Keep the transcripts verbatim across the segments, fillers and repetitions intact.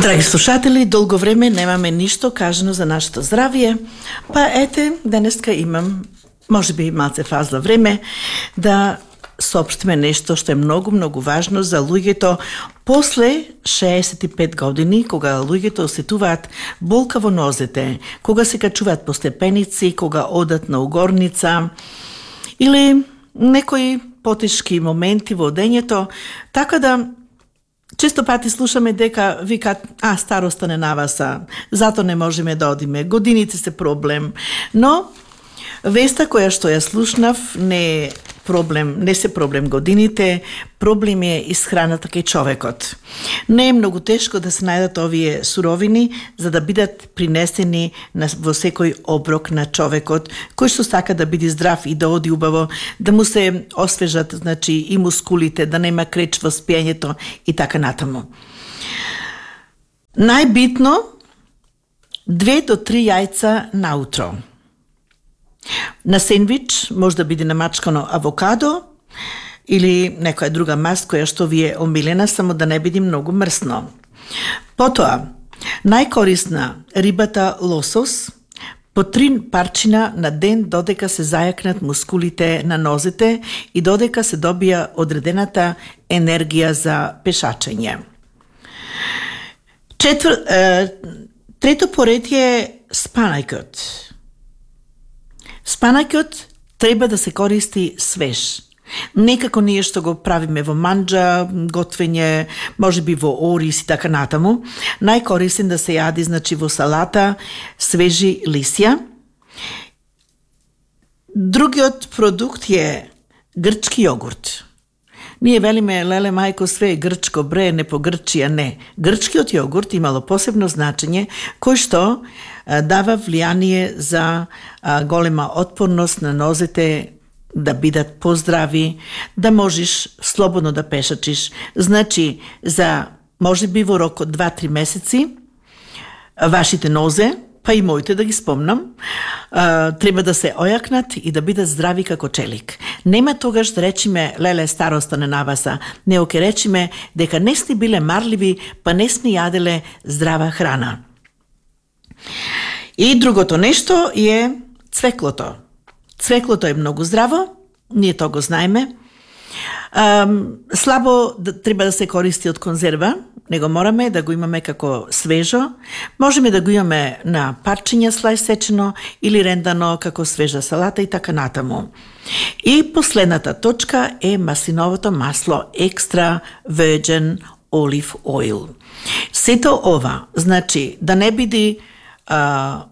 Драги слушатели, долго време немаме ништо кажано за нашето здравие, па ете, денеска имам, може би малце фазла време, да соопштиме нешто што е многу, многу важно за луѓето после шеесет и пет години, кога луѓето осетуваат болка во нозете, кога се качуваат по степеници, кога одат на угорница, или некои потешки моменти во одењето, така да често пати слушаме дека викат, а, староста не наваса, зато не можеме да одиме, годините се проблем, но веста која што ја слушнав не е проблем, не се проблем годините, проблем е исхраната кај човекот. Не е многу тешко да се најдат овие суровини за да бидат принесени на, во секој оброк на човекот, кој што сака да биде здрав и да оди убаво, да му се освежат, значи, и мускулите, да нема креч во спиењето и така натаму. Најбитно, две до три јајца наутро. На сендвич може да биде намачкано авокадо или некоја друга маст која што ви е омилена, само да не биде многу мрсно. Потоа, најкорисна рибата лосос, по три парчина на ден додека се зајакнат мускулите на нозете и додека се добија одредената енергија за пешачење. Четвр... Е, трето поред е спанајкот. Спанаќот треба да се користи свеж. Некако ние што го правиме во манџа, готвење, може би во ориз и така натаму. Најкорисен да се јади, значи, во салата, свежи лисја. Другиот продукт е грчки јогурт. Ние велиме, леле мајко, све е грчко, бре, не по Грчија, не. Грчкиот јогурт имало посебно значење, кој што а, дава влијание за а, голема отпорност на нозете, да бидат поздрави, да можеш слободно да пешачиш. Значи, за може би во рок од два-три месеци, вашите нозе, па и моите да ги спомнам, а, треба да се ојакнат и да бидат здрави како челик. Нема тогаш да речиме, леле, староста не наваса, нео ке речиме дека не сте биле марливи, па не сте јаделе здрава храна. И другото нешто е цвеклото. Цвеклото е многу здраво, ние тоа го знаеме. А, слабо да, треба да се користи од конзерва, него мораме да го имаме како свежо. Можеме да го имаме на парчиња слај сечено или рендано како свежа салата и така натаму. И последната точка е маслиновото масло, екстра virgin olive oil. Сето ова, значи, да не биде а,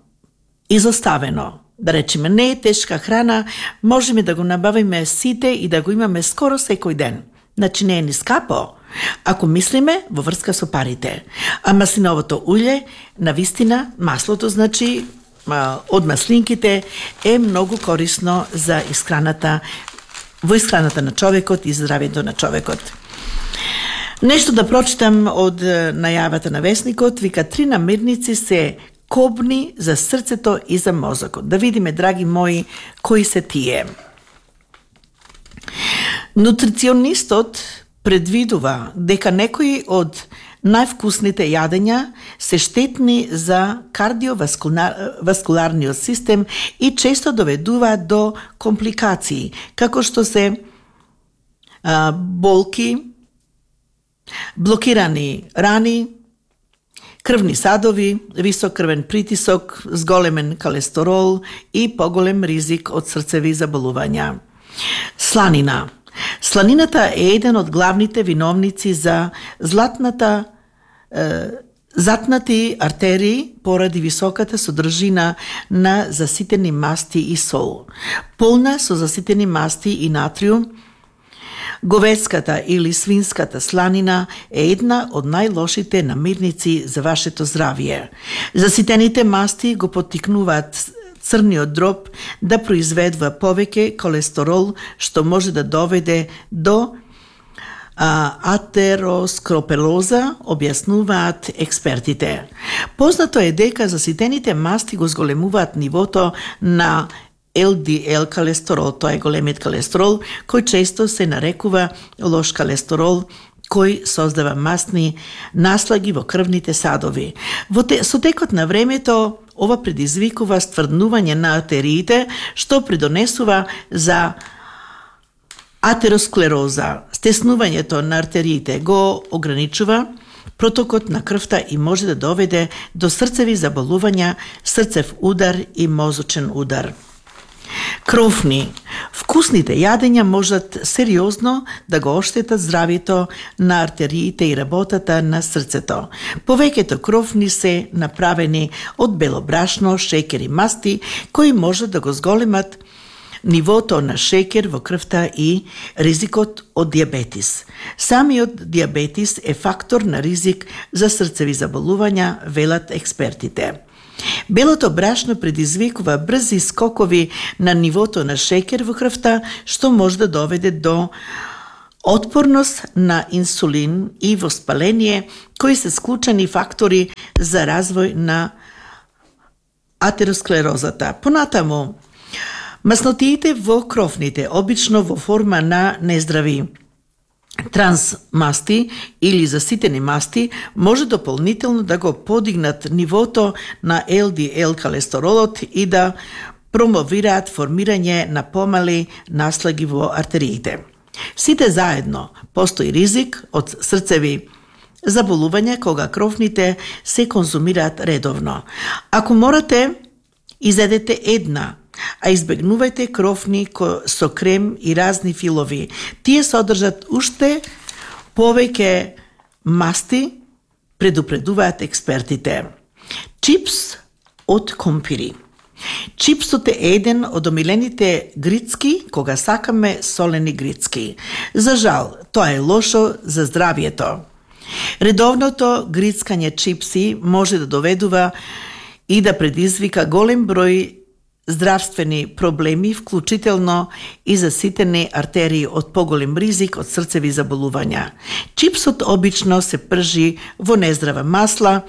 изоставено, да речеме, не е тешка храна, можеме да го набавиме сите и да го имаме скоро секој ден. Значи не е ни скапо, ако мислиме во врска со парите. А маслиновото улје, навистина, маслото, значи, од маслинките е многу корисно за исхраната, во исхраната на човекот и здравието на човекот. Нешто да прочитам од најавата на весникот, вика три намирници се кобни за срцето и за мозокот. Да видиме, драги мои, кои се тие. Нутриционистот предвидува дека некои од највкусните јадења се штетни за кардиоваскуларниот систем и често доведуваат до компликации, како што се а, болки, блокирани рани, крвни садови, висок крвен притисок, зголемен колестерол и поголем ризик од срцеви заболувања. Сланина. Сланината е еден од главните виновници за златната е, затнати артерии поради високата содржина на заситени масти и сол. Полна со заситени масти и натриум, говедската или свинската сланина е една од најлошите намирници за вашето здравје. Заситените масти го поттикнуваат црниот дроб да произведува повеќе колестерол, што може да доведе до а, атероскропелоза, објаснуваат експертите. Познато е дека заситените масти го зголемуваат нивото на ел ди ел колестерол, тоа е големиот колестерол, кој често се нарекува лош колестерол, кој создава масни наслаги во крвните садови. Во те, со текот на времето, ова предизвикува стврднување на артериите, што придонесува за атеросклероза. Стеснувањето на артериите го ограничува протокот на крвта и може да доведе до срцеви заболувања, срцев удар и мозочен удар. Кровни. Вкусните јадења можат сериозно да го оштетат здравјето на артериите и работата на срцето. Повеќето кровни се направени од бело брашно, шеќер и масти, кои можат да го зголемат нивото на шеќер во крвта и ризикот од диабетис. Самиот диабетис е фактор на ризик за срцеви заболувања, велат експертите. Белото брашно предизвикува брзи скокови на нивото на шеќер во крвта, што може да доведе до отпорност на инсулин и воспаление, кои се склучени фактори за развој на атеросклерозата. Понатаму, маснотиите во кровните, обично во форма на нездрави трансмасти или заситени масти, може дополнително да го подигнат нивото на ел ди ел колестеролот и да промовираат формирање на помали наслаги во артериите. Сите заедно постои ризик од срцеви заболувања кога кровните се конзумираат редовно. Ако морате, изедете една, а избегнувајте кровни со крем и разни филови. Тие содржат уште повеќе масти, предупредуваат експертите. Чипс од компири. Чипсот е еден од омилените грицки кога сакаме солени грицки. За жал, тоа е лошо за здравјето. Редовното грицкање чипси може да доведува и да предизвика голем број здравствени проблеми, вклучително и заситени артерии од поголем ризик од срцеви заболувања. Чипсот обично се пржи во нездрава масла,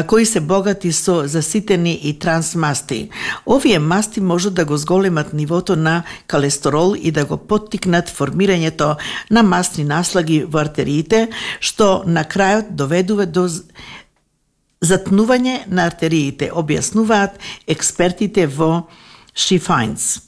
кои се богати со заситени и трансмасти. Овие масти можат да го зголемат нивото на колестерол и да го поттикнат формирањето на масни наслаги во артериите, што на крајот доведува до затнување на артериите, објаснуваат експертите во Шифајнц.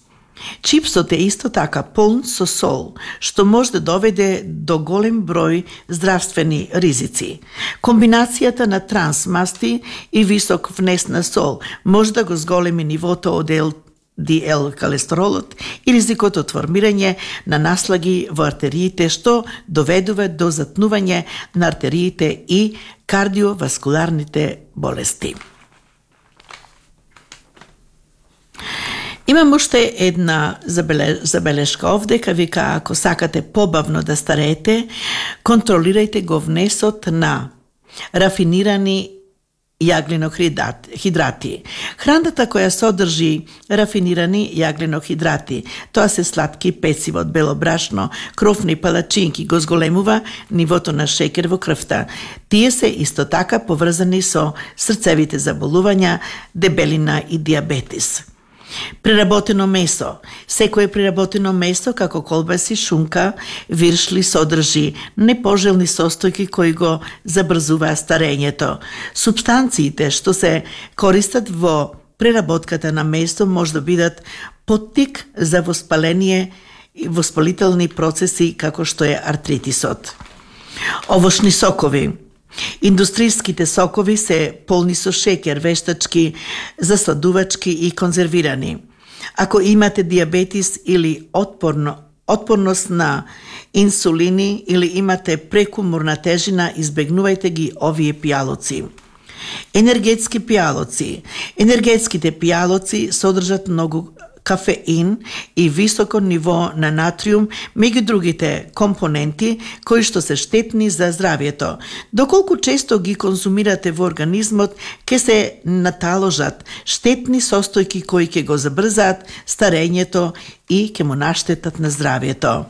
Чипсот е исто така полн со сол, што може да доведе до голем број здравствени ризици. Комбинацијата на трансмасти и висок внес на сол може да го зголеми нивото од ел ди ел колестеролот и ризикот од формирање на наслаги во артериите, што доведува до затнување на артериите и кардиоваскуларните болести. Имам уште една забелешка овде, ка вика, ако сакате побавно да стареете, контролирајте го внесот на рафинирани јаглено-хидрати. Храната која содржи рафинирани јаглено-хидрати, тоа се сладки пецива од бело брашно, кровни палачинки, го зголемува нивото на шеќер во крвта. Тие се исто така поврзани со срцевите заболувања, дебелина и диабетис. Преработено месо. Секое преработено месо, како колбаси, шунка, виршли, содржи непожелни состојки кои го забрзуваат старењето. Субстанциите што се користат во преработката на месо може да бидат поттик за воспаление и воспалителни процеси како што е артритисот. Овошни сокови. Индустријските сокови се полни со шеќер, вештачки, засладувачки и конзервирани. Ако имате диабетис или отпорно, отпорност на инсулини или имате прекуморна тежина, избегнувајте ги овие пијалоци. Енергетски пијалоци. Енергетските пијалоци содржат многу кафеин и високо ниво на натриум, меѓу другите компоненти кои што се штетни за здравјето. Доколку често ги конзумирате во организмот, ќе се наталожат штетни состојки кои ќе го забрзаат старењето и ќе му наштетат на здравјето.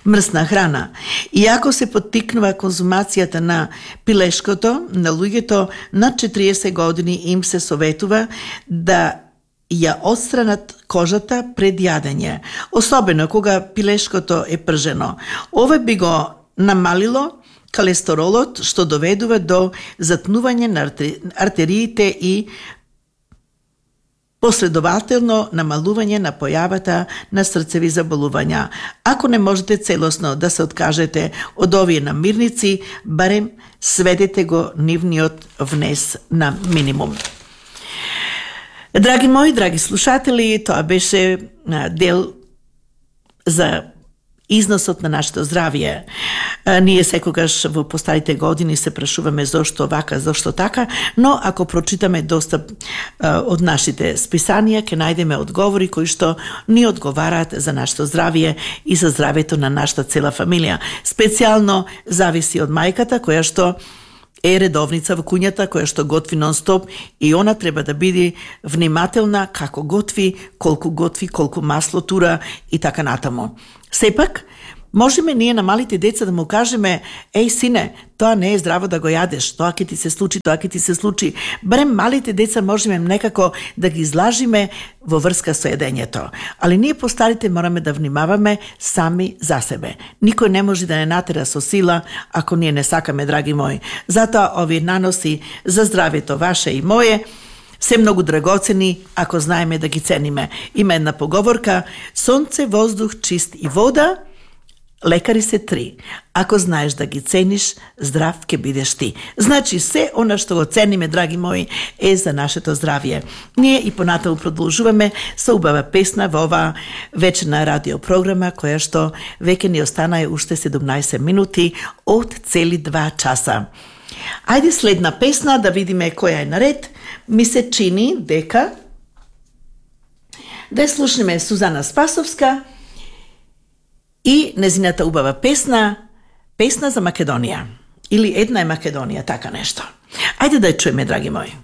Мрсна храна. Иако се поттикнува конзумацијата на пилешкото, на луѓето над четириесет години им се советува да ја отстранат кожата пред јадење, особено кога пилешкото е пржено. Ова би го намалило колестеролот, што доведува до затнување на артериите и последователно намалување на појавата на срцеви заболувања. Ако не можете целосно да се откажете од овие намирници, барем сведете го нивниот внес на минимум. Драги мои, драги слушатели, тоа беше дел за износот на нашето здравје. Ние секогаш во постарите години се прашуваме зошто вака, зошто така, но ако прочитаме доста од нашите списанија, ќе најдеме одговори кои што ни одговараат за нашето здравје и за здравјето на нашата цела фамилија. Специјално зависи од мајката која што е редовница во куњата, која што готви нон-стоп и она треба да биде внимателна како готви, колку готви, колку масло тура и така натаму. Сепак, можеме ние на малите деца да му кажеме: еј сине, тоа не е здраво да го јадеш, тоа ќе ти се случи, тоа ќе ти се случи. Барем малите деца можеме некако да ги излажиме во врска со едењето. Али ние постарите мораме да внимаваме сами за себе. Никој не може да не натера со сила ако ние не сакаме, драги мои. Затоа овие наноси за здравјето ваше и мое се многу драгоцени ако знаеме да ги цениме. Има една поговорка: сонце, воздух, чист и вода, лекари се три. Ако знаеш да ги цениш, здрав ќе бидеш ти. Значи, се она што го цениме, драги мои, е за нашето здравје. Ние и понатаму продолжуваме со убава песна во оваа вечерна радиопрограма, која што веќе ни останае уште седумнаесет минути од цели два часа. Ајде следна песна да видиме која е наред. Ми се чини дека да слушнеме Сузана Спасовска и незината убава песна, песна за Македонија. Или една е Македонија, така нешто. Ајде да ја чуеме, драги мои.